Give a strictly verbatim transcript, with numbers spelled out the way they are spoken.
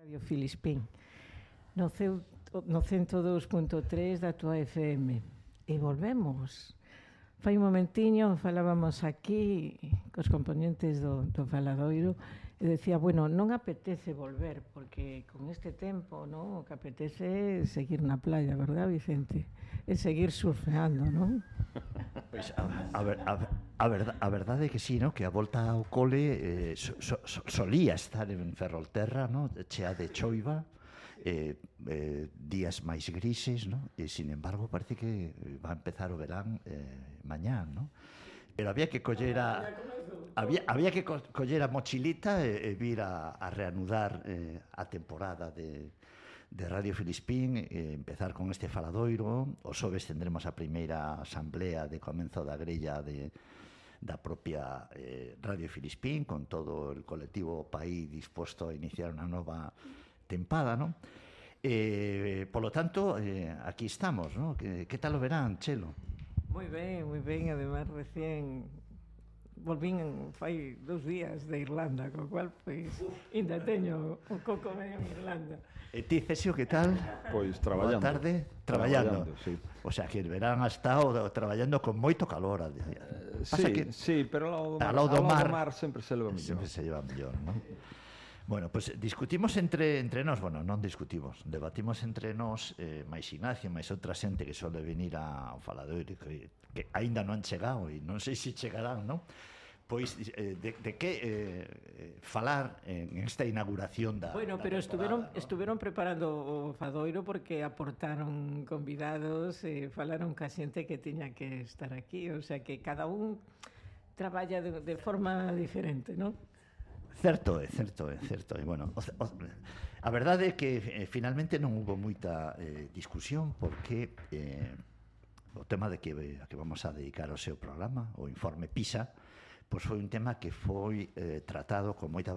Radio Filispín no, ceu, no cento dous punto tres da tua F M e volvemos. Fai un momentiño falábamos aquí cos componentes do, do Faladoiro e decía, bueno, non apetece volver porque con este tempo, non, o que apetece é seguir na playa, verdad, Vicente? É seguir surfeando, non? Pois a, a, ver, a, a, verdade, a verdade é que sí, no? Que a volta ao cole eh, so, so, solía estar en Ferrolterra, no? Chea de choiva, eh, eh, días máis grises, no? E sin embargo parece que va a empezar o verán eh, mañán, no? Pero había que coller a había, había que co coller a mochilita e, e vir a, a reanudar eh, a temporada de de Radio Filispín, eh, empezar con este faladoiro. O xoves tendremos a primeira asamblea de comenzo da grella de, da propia eh, Radio Filispín, con todo el colectivo país disposto a iniciar unha nova tempada, non? Eh, polo tanto, eh, aquí estamos, non? Que, que tal o verán, Chelo? Moi ben, moi ben, además recién volvín fai dous días de Irlanda, co cual, pois, ainda teño o coco medio en Irlanda. E ti, Cesio, que tal? Pois traballando. Boa tarde, traballando. Traballando, sí. O sea, que el verán ha estado traballando con moito calor. Eh, sí, que sí, pero ao lado do mar, ao lado do mar, mar sempre se leva mellor. Sempre se lleva mellor, non? Bueno, pues discutimos entre entre nós, bueno, non discutimos, debatimos entre nós, eh, máis Ignacio, máis outra xente que sole venir ao faladoiro que, que aínda non han chegado e non sei se chegarán, non? Pois eh, de, de que eh, falar en esta inauguración da Bueno, da pero estuveron ¿no? estuveron preparando o fadoiro porque aportaron convidados e falaron ca xente que tiña que estar aquí, o sea que cada un traballa de, de forma diferente, non? Certo, é certo, é certo. E bueno, o, o, a verdade é que eh, finalmente non hubo moita eh, discusión porque eh, o tema de que a que vamos a dedicar o seu programa, o informe PISA, pois foi un tema que foi eh, tratado con moita